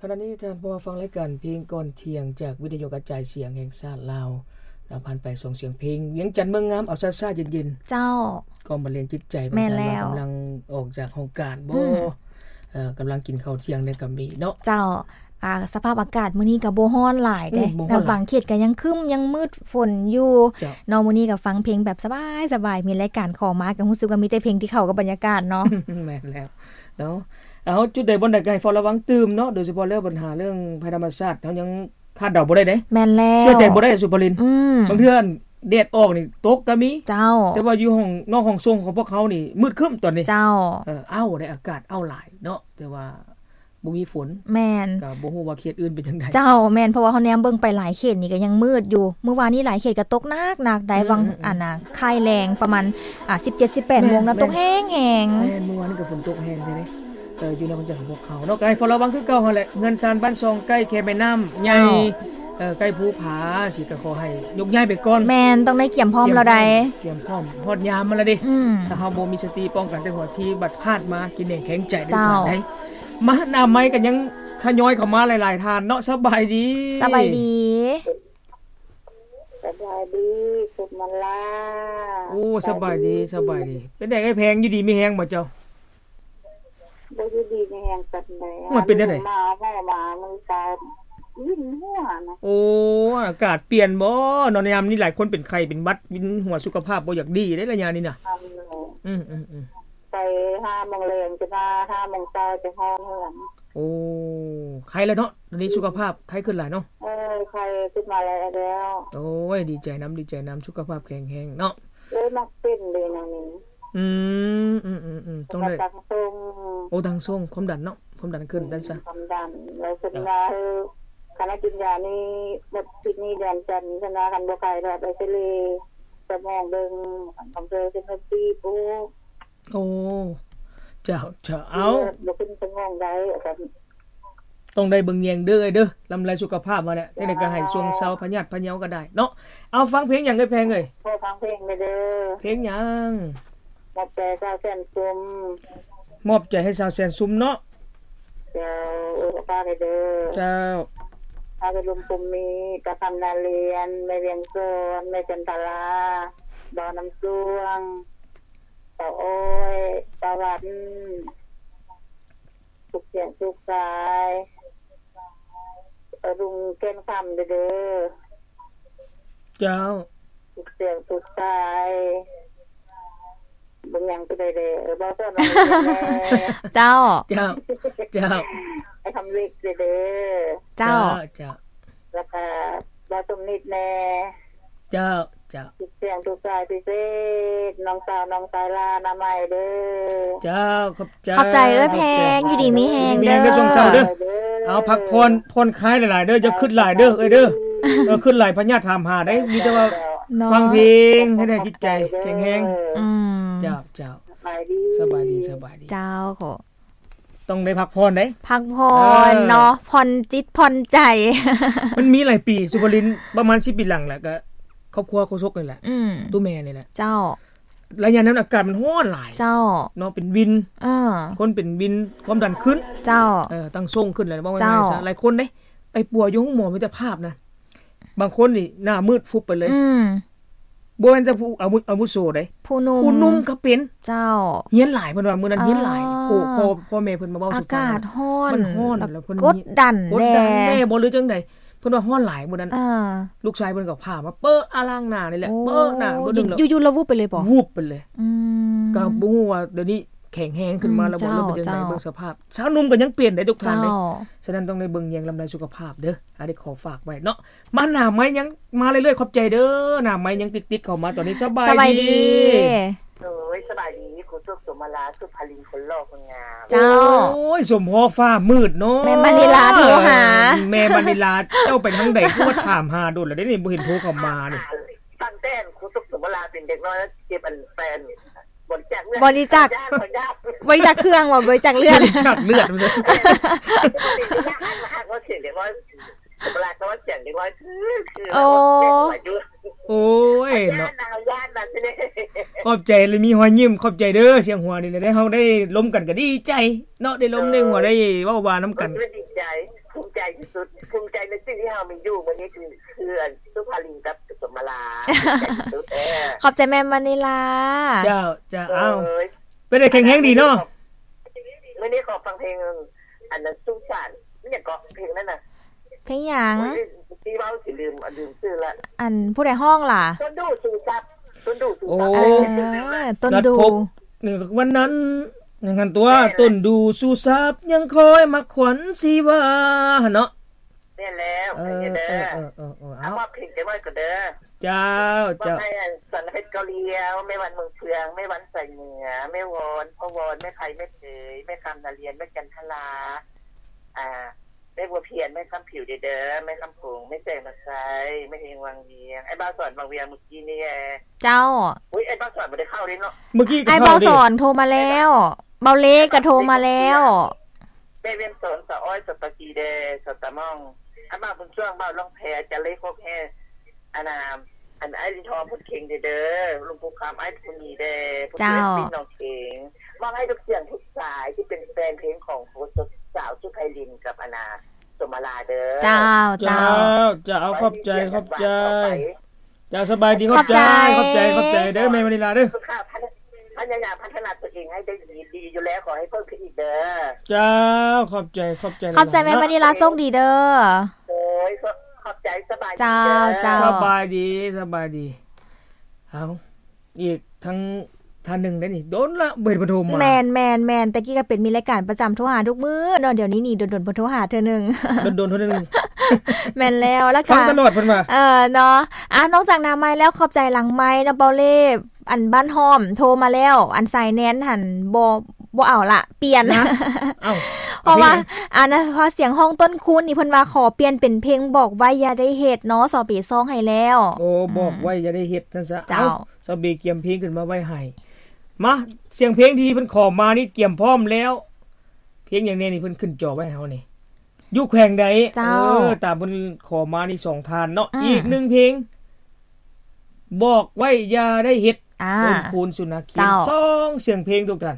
ຂະນະນີ້ທ່ານຜູ້ຟັງລາຍການເພງກ່ອນທ່ຽງ ຈາກວິທະຍຸກະຈາຍສຽງແຫ່ງຊາດລາວ ນຳຜ່ານໄປສອງສຽງເພງ ວຽງຈັນເມືອງງາມ ເອົາຊ້າໆເຢັນໆ ເຈົ້າ ກອງບັນເລງຈິດໃຈ ແມ່ນແລ້ວ ບາງທ່ານວ່າກຳລັງອອກຈາກຫ້ອງການບໍ ອືມ ເອີ ກຳລັງກິນເຂົ້າທ່ຽງແດ່ກໍມີເນາະ ເຈົ້າ. ອ່າ ສະພາບອາກາດມື້ນີ້ກໍບໍ່ຮ້ອນຫຼາຍເດ້ ອືມ ບໍ່ຮ້ອນຫຼາຍ ແລ້ວບາງເຂດກໍຍັງຄຶ້ມ ຍັງມືດຝົນຢູ່ ເຈົ້າ ເນາະ. ມື້ນີ້ກໍຟັງເພງແບບສະບາຍໆ ມີລາຍການຂໍມາ ກໍຮູ້ສຶກວ່າມີແຕ່ເພງທີ່ເຂົ້າກັບບັນຍາກາດເນາະ ແມ່ນແລ້ວ ເນາະ. ເອົາ ຈຸດໃດບ່ອນໃດກໍໃຫ້ເຝົ້າລະວັງຕື່ມເນາະ ໂດຍສະເພາະແລ້ວບັນຫາເລື່ອງໄພທຳມະຊາດ ເຮົາຍັງຄາດເດົາບໍ່ໄດ້ເດ້ ແມ່ນແລ້ວ ເຊື່ອໃຈບໍ່ໄດ້ ສຸພາລິນ ອືມ ບາງເທື່ອແດດອອກນີ້ຕົກກໍມີ ເຈົ້າ ແຕ່ວ່າຢູ່ຫ້ອງ ນອກຫ້ອງຊົງຂອງພວກເຮົານີ້ມືດຄຶ້ມຕອນນີ້ ເຈົ້າ ເອີ ອ້າວ ໄດ້ອາກາດອ້າວຫຼາຍເນາະ ແຕ່ວ່າບໍ່ມີຝົນ ແມ່ນ ກໍບໍ່ຮູ້ວ່າເຂດອື່ນເປັນຈັ່ງໃດ ເຈົ້າ ແມ່ນ ເພາະວ່າເຮົາແນມເບິ່ງໄປຫຼາຍເຂດນີ້ກໍຍັງມືດຢູ່ ມື້ວານນີ້ຫຼາຍເຂດກໍຕົກໜັກໆ ໄດ້ ອືມ ຫວ່າງ ອືມ ອັນນ່າ ຄ້າຍແລງປະມານ ອ່າ ສິບເຈັດ ສິບແປດໂມງນະ ແມ່ນ ຕົກແຮງໆ ແມ່ນ ມື້ວານນີ້ກໍຝົນຕົກແຮງແທ້ເດ້ ເອີ ຢູ່ໃນວັນຈັນຂອງພວກເຮົາເນາະ ກໍໃຫ້ເຝົ້າລະວັງຄືເກົ່າຫັ້ນແຫຼະ ເຮືອນຊານບ້ານຊ່ອງໃກ້ແຄມແມ່ນ້ຳໃຫຍ່ ເຈົ້າ ເອີ ໃກ້ພູຜາ ຊິກໍຂໍໃຫ້ຍົກຍ້າຍໄປກ່ອນ ແມ່ນ ຕ້ອງໄດ້ກຽມພ້ອມແລ້ວໃດ ກຽມພ້ອມ ກຽມພ້ອມ ຮອດຍາມມັນແລ້ວເດ້ ອືມ ຖ້າເຮົາບໍ່ມີສະຕິປ້ອງກັນແຕ່ຫົວທີ ບັດພາດມາກິນແໜງແຂງໃຈ ເຈົ້າ ໄດ້ ມາ ໜ້າໄມກໍຍັງທະຍອຍເຂົ້າມາຫຼາຍໆທ່ານເນາະ ສະບາຍດີ ສະບາຍດີ ສະບາຍດີ ສຸມມາລາ ໂອ້ ສະບາຍດີ ສະບາຍດີ ສະບາຍດີ ເປັນໃດເອື້ອຍແພງ ຢູ່ດີມີແຮງບໍ່ເຈົ້າ? ບໍ່ຢູ່ດີມີແຮງປານໃດ ມັນເປັນແນວໃດ? ມາໝໍມາມື້ເຊົ້າ ວິນຫົວນະ ໂອ້ ອາກາດປ່ຽນບໍ່ເນາະ ຍາມນີ້ຫຼາຍຄົນເປັນໄຂ້ເປັນຫວັດ ວິນຫົວ ສຸຂະພາບບໍ່ຢາກດີເດ້ໄລຍະນີ້ນະ ອືມໆໆ ໄປຫ້າໂມງແລງຈະມາ ຫ້າໂມງເຊົ້າຈະຮອດເຮືອນ ໂອ້ ໄຄແລ້ວເນາະ ດຽວນີ້ສຸຂະພາບໄຄຂຶ້ນຫຼາຍເນາະ ເອີ ໄຄຂຶ້ນມາແລ້ວ ໂອ້ຍ ດີໃຈນຳ ດີໃຈນຳ ສຸຂະພາບແຂງແຮງເນາະ ເອີ ມັກເປັນເດ້ນະນີ້ ອືມ ອືມໆໆ ຕ້ອງໄດ້ ແລ້ວກໍຕັ້ງຊົງ ໂອ້ ຕັ້ງຊົງ ຄວາມດັນເນາະ ຄວາມດັນຂຶ້ນ ອືມ ໄດ້ຊະ ຄວາມດັນ ແລ້ວເພິ່ນວ່າ ເອີ ຄັນໃຫ້ກິນຢານີ້ໝົດທິດນີ້ເດືອນຈັນ ເພິ່ນວ່າຄັນບໍ່ໄຄແລ້ວໄປເອັກຊະເຣສະໝອງເບິ່ງ ບາງເທື່ອເສັ້ນເລືອດຕີບ ໂອ້ ໂອ້ ເຈົ້າ ເຈົ້າ ເອົາ ເລືອດບໍ່ຂຶ້ນສະໝອງໄດ້ ຕ້ອງໄດ້ເບິ່ງແຍງເດີ ເດີ ລຳໄລສຸຂະພາບວ່າແຫຼະ ຈັ່ງໃດກໍໃຫ້ຊ່ວງເຊົາພະຍາດພະເຍົາກໍໄດ້ເນາະ ເອົາ ຟັງເພງຫຍັງເອີຍແພງເອີຍ? ຂໍຟັງເພງແດ່ເດີ. ເພງຫຍັງ? ມອບໃຈສາວແສນຊຸມ. ມອບໃຈໃຫ້ສາວແສນຊຸມເນາະ. ເຈົ້າ ເອີ ຝາກໃຫ້ເດີ. ເຈົ້າ ຝາກໃຫ້ລຸງພົມມີ ຕາຄຳນາລຽນ ແມ່ວຽງສອນ ແມ່ຈັນທະລາ ບ່າວນ້ຳສວງ ຕາອ້ອຍ ຕາວັນ ທຸກສຽງທຸກສາຍ ລຸງແກ່ນຄຳເດີ. ເຈົ້າ ທຸກສຽງທຸກສາຍ ເບິ່ງຫຍັງໄປໄດ້ເດີ ເອີ ເວົ້າສອນ ເຈົ້າ ເຈົ້າ ເຈົ້າ ໄອ້ຄຳເລັກເດີ. ເຈົ້າ ເຈົ້າ ແລ້ວກະບ່າວສົມນິດແດ່. ເຈົ້າ ເຈົ້າ ທຸກສຽງທຸກສາຍ ພິເສດ ນ້ອງສາວ ນ້ອງຊາຍ ຫຼ້າ ໜ້າໃໝ່ເດີ. ເຈົ້າ ຂອບໃຈ ຂອບໃຈເອື້ອຍແພງ ຢູ່ດີມີແຮງເດີ ຢູ່ດີມີແຮງເດີ ຊ່ວງເຊົ້າເດີ. ເອົາ ພັກຜ່ອນ ຜ່ອນຄາຍຫຼາຍໆເດີ ຢ່າຄຶດຫຼາຍເດີເອື້ອຍເດີ. ເອີ ຄຶດຫຼາຍພະຍາດຖາມຫາໄດ໋ ມີແຕ່ວ່າ ເນາະ ຟັງເພງໃຫ້ໄດ້ຈິດໃຈແຂງແຮງ. ອືມ ເຈົ້າ ເຈົ້າ ສະບາຍດີ ສະບາຍດີ ສະບາຍດີ. ເຈົ້າ ຕ້ອງໄດ້ພັກຜ່ອນເດ້ ພັກຜ່ອນ ເອີ ເນາະ ຜ່ອນຈິດຜ່ອນໃຈ. ມັນມີຫຼາຍປີ ສຸພາລິນ ປະມານສິບປີຫຼັງແຫຼະ ກໍຄອບຄົວໂຄສົກນີ້ແຫຼະ ອືມ ໂຕແມ່ນີ້ແຫຼະ. ເຈົ້າ ໄລຍະນັ້ນອາກາດມັນຮ້ອນຫຼາຍ ເຈົ້າ ເນາະ ເປັນວິນ ເອີ ຄົນເປັນວິນ ຄວາມດັນຂຶ້ນ ເຈົ້າ ເອີ ຕັ້ງຊົງຂຶ້ນແລ້ວ ເວົ້າງ່າຍໆຊະ. ເຈົ້າ ຫຼາຍຄົນເດ້ ໄປປົວຢູ່ໂຮງໝໍມິດຕະພາບນະ ບາງຄົນນີ້ໜ້າມືດຟຸບໄປເລີຍ ອືມ ບໍ່ແມ່ນແຕ່ຜູ້ອາວຸ ອາວຸໂສເດ້ ຜູ້ໜຸ່ມ ຜູ້ໜຸ່ມກໍເປັນ. ເຈົ້າ ຮຽນຫຼາຍ ເພິ່ນວ່າມື້ນັ້ນຮຽນຫຼາຍ ເອີ ໂອ້ ພໍ່ ພໍ່ແມ່ເພິ່ນມາເວົ້າສູ່ຟັງ ອາກາດຮ້ອນ ມັນຮ້ອນ ແລ້ວເພິ່ນກົດດັນ ກົດດັນແດ່ ແດ່ບໍ່ ຫຼືຈັ່ງໃດ ເພິ່ນວ່າຮ້ອນຫຼາຍມື້ນັ້ນ ເອີ ລູກຊາຍເພິ່ນກໍພາມາເປີະອາລ້າງໜ້ານີ້ແຫຼະ ໂອ້ ເປີະໜ້າ ບໍ່ດຶງແລ້ວ ຢູ່ໆລາວວູບໄປເລີຍບໍ? ວູບໄປເລີຍ ອືມ ກໍບໍ່ຮູ້ວ່າດຽວນີ້ແຂງແຮງຂຶ້ນມາແລ້ວບໍ່ ອືມ ຫຼືເປັນຈັ່ງໃດ ເຈົ້າ ເບິ່ງສະພາບ. ຊາວໜຸ່ມກໍຍັງເປັນເດ້ທຸກທ່ານເດ້ ເຈົ້າ ສະນັ້ນຕ້ອງໄດ້ເບິ່ງແຍງລຳໄລສຸຂະພາບເດີ. ອັນນີ້ຂໍຝາກໄວ້ເນາະ ມາໜ້າໄມ້ຍັງມາເລື້ອຍໆ ຂອບໃຈເດີ ໜ້າໄມ້ຍັງຕິດໆເຂົ້າມາຕອນນີ້. ສະບາຍ ສະບາຍດີ ດີ ໂອ້ຍ ສະບາຍດີ ຄູສົກ ສົມມາລາ ສຸພາລິນ ຄົນຫຼໍ່ຄົນງາມ. ເຈົ້າ ໂອ້ຍ ສົມພໍຟ້າມືດເນາະ ແມ່ມະນີລາໂທຫາ ແມ່ມະນີລາ ເຈົ້າໄປທາງໃດ ຄືວ່າຖາມຫາດົນແລ້ວເດ້ນີ້ ບໍ່ເຫັນໂທເຂົ້າມານີ້. ຕັ້ງແຕ່ຄູສົກ ສົມມາລາ ເປັນເດັກນ້ອຍເກັບອັນແປນ ບໍລິຈາກ ບໍລິຈາກເຄື່ອງບໍ່? ບໍລິຈາກເລືອດ ບໍລິຈາກເລືອດ ເວລາເຂົາວ່າສຽງເດັກນ້ອຍ ຄື ຄື ໂອ້ ໂອ້ຍເນາະ ຢ້ານນະ ຂອບໃຈ ແລະມີຮອຍຍິ້ມ ຂອບໃຈເດີ ສຽງຫົວນີ້ແຫຼະ ໄດ້ ເຮົາໄດ້ລົມກັນກໍດີໃຈເນາະ ໄດ້ລົມໄດ້ຫົວ ໄດ້ເວົ້າວ່ານຳກັນ ດີໃຈ. ທີ່ສຸດ ພູມໃຈໃນສິ່ງທີ່ເຮົາມີຢູ່ມື້ນີ້ ຄື ຄືອັນສຸພາລິນກັບສຸສົມມາລາ ເອີ ຂອບໃຈແມ່ມະນີລາ. ເຈົ້າ ເຈົ້າ ເອົາ ເອີຍ ເປັນໄດແຂງແຮງດີເນາະ? ມື້ນີ້ຂໍຟັງເພງ ອັນນັ້ນ ສຸສານ ອີ່ຫຍັງເກາະ ເພງນັ້ນນະ ເພງຫຍັງ? ໂອ້ຍ ຊິເວົ້າຊິລືມ ລືມຊື່ລະ. ອັນຜູ້ໃດຮ້ອງລະ? ຕົ້ນດູ່ຊູຊັບ ຕົ້ນດູ່ຊູຊັບ. ໂອ້ ເອີ ຕົ້ນດູ່ ນັດພົບ ນີ້ວັນນັ້ນ ຫຍັງຫັ້ນຕົວະ ແມ່ນລະ ຕົ້ນດູ່ຊູຊັບ ຍັງຄອຍມັກຂວັນຊີວາ ຫັ້ນເນາະ. ແມ່ນແລ້ວ ເອີ ເອີ ເອີ ເອີ ເອົາ ມອບເພງຈັກໜ້ອຍກ່ອນເດີ. ເຈົ້າ ເຈົ້າ ມອບໃຫ້ອັນ ສັນເພັດເກົາຫຼຽວ ແມ່ວັນເມືອງເຟືອງ ແມ່ວັນສາຍເໜືອ ແມ່ວອນ ພໍ່ວອນ ແມ່ໄພ ແມ່ເຜີຍ ແມ່ຄຳນາລຽນ ແມ່ຈັນທະລາ ອ່າ ແມ່ບົວພຽນ ແມ່ຄຳຜິວເດີ ແມ່ຄຳຜົງ ແມ່ແສງນາໄຊ ແມ່ເຮງວັງວຽງ ອ້າຍບ່າວສອນວັງວຽງ ມື້ກີ້ນີ້ແຫຼະ. ເຈົ້າ ອຸ້ຍ ອ້າຍບ່າວສອນບໍ່ໄດ້ເຂົ້າເດ້ເນາະ ມື້ກີ້ກໍ ອ້າຍບ່າວສອນໂທມາແລ້ວ ເບົາເລກໍໂທມາແລ້ວ ແມ່ວຽງສອນ ສາວອ້ອຍ ສາວຕາກີແດ່ ສາວຕາມ່ອງ ອ້າຍບ່າວບຸນຊ່ວງ ບ່າວລ່ອງແພ ຈາເລໂຄກແຮ່ ອັນນ່າ ອັນອ້າຍລິນທອງ ພຸດເຄັງເດີ ລຸງປູຄຳ ອ້າຍພູມີແດ່ ຜູ້ເຈົ້າ ເປັນນ້ອງເຄັງ ມອບໃຫ້ທຸກສຽງທຸກສາຍທີ່ເປັນແຟນເພງຂອງສາວສຸໄພລິນກັບອັນນ່າ ສົມມາລາເດີ. ເຈົ້າ ເຈົ້າ ເຈົ້າ ເຈົ້າ ຂອບໃຈ ຂອບໃຈ. ເຈົ້າ ສະບາຍດີ ຂອບໃຈ ຂອບໃຈ ຂອບໃຈ ຂອບໃຈເດີ ແມ່ມະນີລາເດີ. ພະຍາຍາມພັດທະນາຕົວເອງໃຫ້ໄດ້ດີ ດີຢູ່ແລ້ວ ຂໍໃຫ້ເພີ່ມຂຶ້ນອີກເດີ. ເຈົ້າ ຂອບໃຈ ຂອບໃຈ ຂອບໃຈແມ່ມະນີລາ ໂຊກດີເດີ. ໂດຍ ຂອບໃຈ ສະບາຍດີເດີ. ເຈົ້າ ເຈົ້າ ສະບາຍດີ ສະບາຍດີ. ເອົາ ອີກທັງທ່ານໜຶ່ງໄດ໋ນີ້ ດົນລະບໍ່ເຫັນເພິ່ນໂທມາ. ແມ່ນໆໆ ແຕ່ກີ້ກໍເປັນ ມີລາຍການປະຈຳໂທຫາທຸກມື້ເນາະ ດຽວນີ້ນີ້ດົນໆເພິ່ນໂທຫາເທື່ອໜຶ່ງ ດົນໆເທື່ອໜຶ່ງ. ແມ່ນແລ້ວ ລະກະຟັງຕະຫຼອດເພິ່ນວ່າ ເອີ ເນາະ. ອ່າ ນອກຈາກນາໄມແລ້ວ ຂອບໃຈຫຼັງໄມເນາະ ເປົາເລ່ ອັນບ້ານຫ້ອມໂທມາແລ້ວ ອັນສາຍແນນຫັ້ນບໍ່ ບໍ່ເອົາລະ ປ່ຽນ ເອົ້າ ເພາະວ່າ ອັນນັ້ນ ເພາະສຽງຮ້ອງຕົ້ນຄູນນີ້ ເພິ່ນວ່າຂໍປ່ຽນເປັນເພງບອກໄວ້ຢ່າໄດ້ເຮັດເນາະ ສາວເບຊອງໃຫ້ແລ້ວ. ໂອ້ ອືມ ບອກໄວ້ຢ່າໄດ້ເຮັດ ຊັ້ນຊະ. ເຈົ້າ ເອົາ ສາວເບກຽມເພງຂຶ້ນມາໄວ້ໃຫ້. ມາ ສຽງເພງທີ່ເພິ່ນຂໍມານີ້ກຽມພ້ອມແລ້ວ. ເພງຫຍັງແດ່ນີ້ ເພິ່ນຂຶ້ນຈໍໄວ້ໃຫ້ເຮົານີ້ ຢູ່ແຂວງໃດ? ເຈົ້າ ເອີ ຕາມເພິ່ນຂໍມານີ້ສອງທ່ານເນາະ. ອືມ ອີກໜຶ່ງເພງ ບອກໄວ້ຢ່າໄດ້ເຮັດ ອ່າ ຕົ້ນຄູນ ສຸນນະເຄນ. ເຈົ້າ ສອງສຽງເພງທຸກທ່ານ.